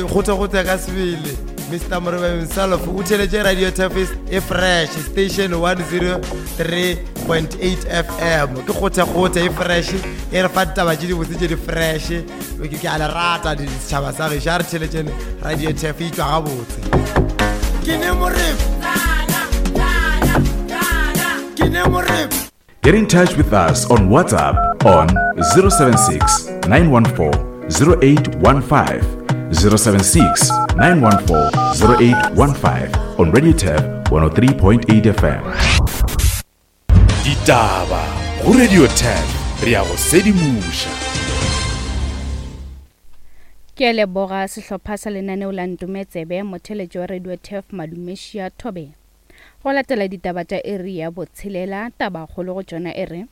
Kgotha-kgotha ka sebele Mr Moreba himself o theletše Radio Tafis e fresh station 103.8 FM ke kgotha-kgotha e fresh e re fa ditaba tše dibotse tše di fresh ke ke a le rata ditšhaba sa gešo a re theletšeng Radio Taf e tšwa gabotse ke ne moreba ke ne moreba Get in touch with us on WhatsApp on 076 914 0815. 076 914 0815 on Radio Tab 103.8 FM. Ditaba go Radio Tab re ya go sedimoša. Ke a leboga sehlopha sa lenaneo la Ntometsebe, motheletši wa Radio Turf Madumešia Thobela. Go latela ditaba tša iri ya botshelela, tabakgolo go tšona e re,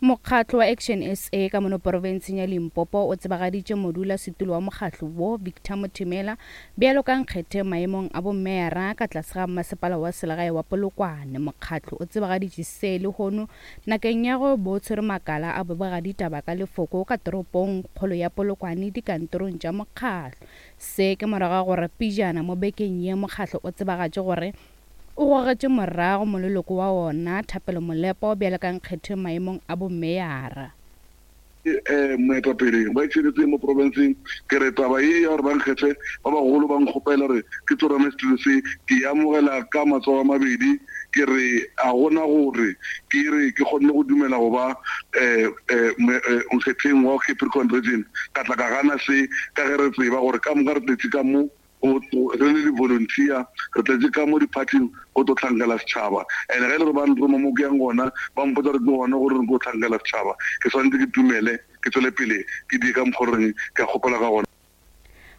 Mokgatlo wa Action SA ka mono porofenseng ya Limpopo o tsebagaditše modulasetulo wa mokgatlo wo, Victor Mothimela, bjalo ka nkgethe maemong a bomeyara ka tlase ga mmasepala wa selegae wa Polokwane. Mokgatlo o tsebagaditše se lehono nakeng ya go bo tshwere makala a bobegaditaba ka lefoko ka toropong kgolo ya Polokwane dikantorong tša mokgatlo. Se ke morago ga gore pejana mo bekeng ye mokgatlo o tsebagatše gore o gogetše morago moleloko wa wona, Thapelo Molepo, bjalo ka nkgethwe maemong a bomeyara. Moetapele wa itšhelete mo profenseng, ke re taba ye ya gore ba nkgethe ba bagolo ba nkgopela gore ke tsorame setulo se, ke e amogela ka matsogo a mabedi. Ke re a gona gore ke re ke kgonne go dumela go ba nkgetheng wa Capricorn Region, ka tla ka gana se ka ge re tseba gore ka moka re tletše ka mo re le di-volunteer, re tletše ka mo di-party-ing go tlo hlankela setšhaba. And ge e le gore ba nroma mo ke yang gona, ba mpotsa gore ke gona gore re tlo hlankela setšhaba, ke swanetše ke dumele, ke tswele pele ke die ka mokgwa o reng ke a kgopela ka gona.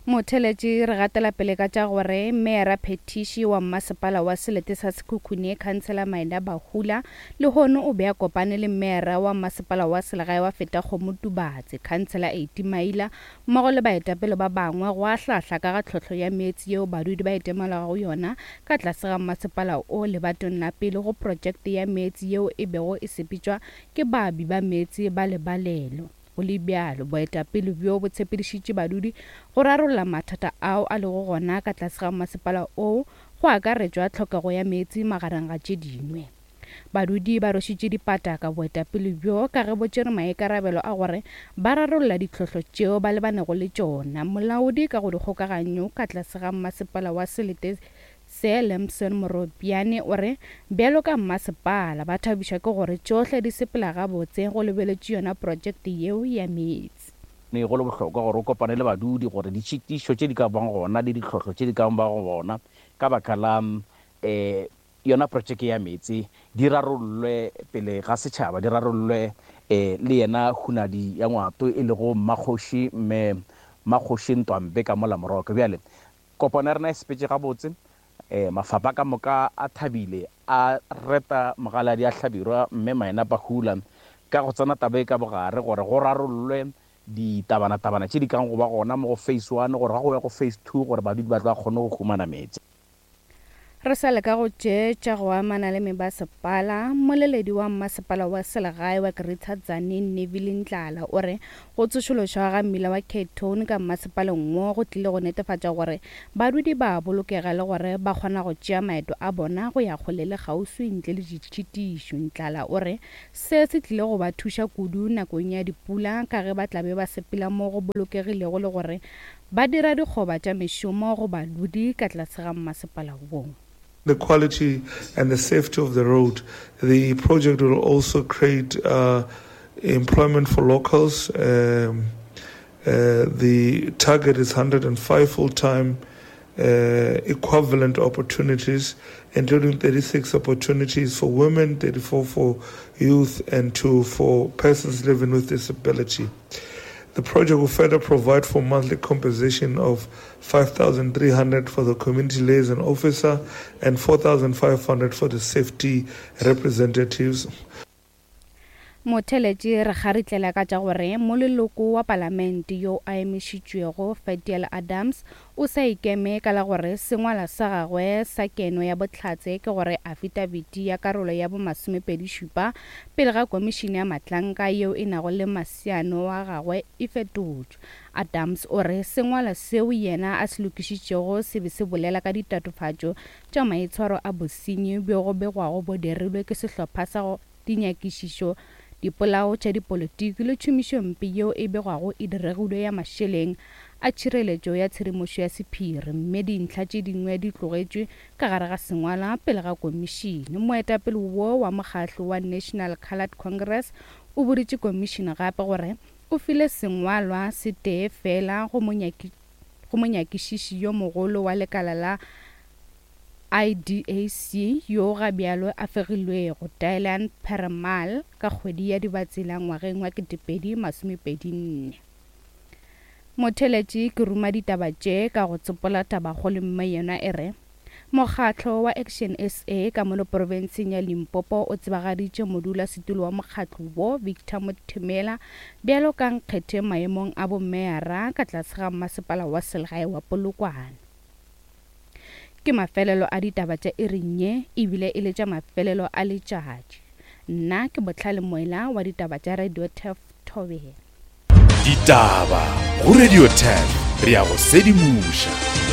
Motheletši re gatela pele ka tša gore Meyara Phethiši wa Mmasepala wa Selete sa Sekhukhune Khansela Maina Bahula lehono o be a kopane le Meyara wa Mmasepala wa Selegae wa Fetakgomo Tubatse Khansela Eiti Maila mmogo le baetapele ba bangwe go ahlaahla ka ga tlhohlo ya meetse yeo badudi ba itemogelwago yona ka tlase ga mmasepala o lebatong la pele go projekte ya meetse yeo e bego e sepetšwa ke baabi ba meetse ba Lebalelo. Go le bjalo, boetapele bjo bo tshepedišitše badudi go rarolla mathata ao a lego gona ka tlase ga masepala oo, go akaretšwa tlhokego ya meetse magareng ga tše dingwe. Badudi ba rwešitše dipata ka boetapele bjo ka ge bo tšere maikarabelo a gore ba rarolla ditlhohlo tšeo ba lebanego le tšona. Molaodi ka go dikgokaganyo ka tlase ga masepala wa selete Se Lemson Moropiane o re bjalo ka mmasepala ba thabišwa ke gore tšohle di sepela gabotse go lebeletšwe yona projekte yeo ya meetse. Ne go le bohlokwa gore o kopane le badudi gore ditšhitišo tše di ka bang gona le ditlhohlo tše di ka bago gona ka baka la um yona projeke ya meetse di rarollwe pele ga setšhaba, di rarollwe um le yena Hunadi ya Ngwato e lego Mmakgoši Mme Mmakgoši Ntwampe ka mola Moroka. Bjale Kopano ya rena e sepetše gabotse. Mafapha ka moka a thabile, a reta Mogaladi a Hlabirwa Mme Maina Pahula ka go tsena taba ye ka bogare gore go rarollwe ditabanatabana tše di kang go ba gona mo go Phase One gore ga go ya go Phase Two gore badudi ba tlo ba kgone go humana meetse. Re sa leka go tše tša go amana le mebasepala, mmoleledi wa mmasepala wa selegae wa Greater Tzaneen Neville Ndlala o re go tsošološwa ga mmila wa Cape Town ka mmasepaleng wo go tlile go netefatša gore badudi ba a bolokega le gore ba kgona go tšea maeto a bona go ya kgole le kgauswi ntle le ditšhitišo. Ndlala o re se se tlile go ba thuša kudu nakong ya dipula ka ge ba tla be ba sepela mo go bolokegilego le gore Ba dira dikgoba tša mešomo go badudi ka tlase ga mmasepala wo. The quality and the safety of the road. The project will also create uh, employment for locals. Um, uh, the target is 105 full-time uh, equivalent opportunities, including 36 opportunities for women, 34 for youth, and 2 for persons living with disability. The project will further provide for monthly compensation of 5,300 for the community liaison officer and 4,500 for the safety representatives. Motheeletši re kgaritlela ka tša gore moleloko wa palamente yo a emišitšwego Fadiel Adams o sa ikeme ka la gore sengwalwa sa gagwe sa keno ya bohlatse ke gore afitafiti ya karolo ya bo masomepedišupa pele ga komišene ya matlanka yeo e nago le masiano wa gagwe e fetotšwe. Adams o re sengwalwa seo yena a se lokišitšego se be se bolela ka ditatofatšo tša maitshwaro a bosenyi bjo go begwago bo dirilwe ke sehlopha sa go dinyakišišo, dipolao tša dipolotiki le tšhomišompe yeo e begwago e diregilwe ya mašeleng a tšhireletšo ya tshedimošo ya sephiri mme dintlha tše dingwe di tlogetšwe ka gare ga sengwalwa pele ga komišene. Moetapele wo wa mokgahlo wa National Coloured Congress o boditše komišene gape gore o file sengwalwa se tee fela go monyakišiši yo mogolo wa lekala la IDAC, yo ga bjalo a fegilwego, Dylan Perumal, ka kgwedi ya Dibatsela ngwageng wa 2024. Motheeletši ke ruma ditaba tše ka go tsopola tabakgolo mme yona e re, Mokgatlo wa Action SA ka mono profenseng ya Limpopo o tsebagaditše modulasetulo wa mokgatlo wo, Victor Mothemela, bjalo ka nkgethe maemong a bomeyara ka tlase ga mmasepala wa selegae wa Polokwane. Ke mafelelo a ditaba tša iring ye, ebile e le tša mafelelo a letšatši. Nna ke Bohlale Moela wa ditaba tša Radio Turf Thobela. Ditaba go Radio Turf, re a go sedimoša.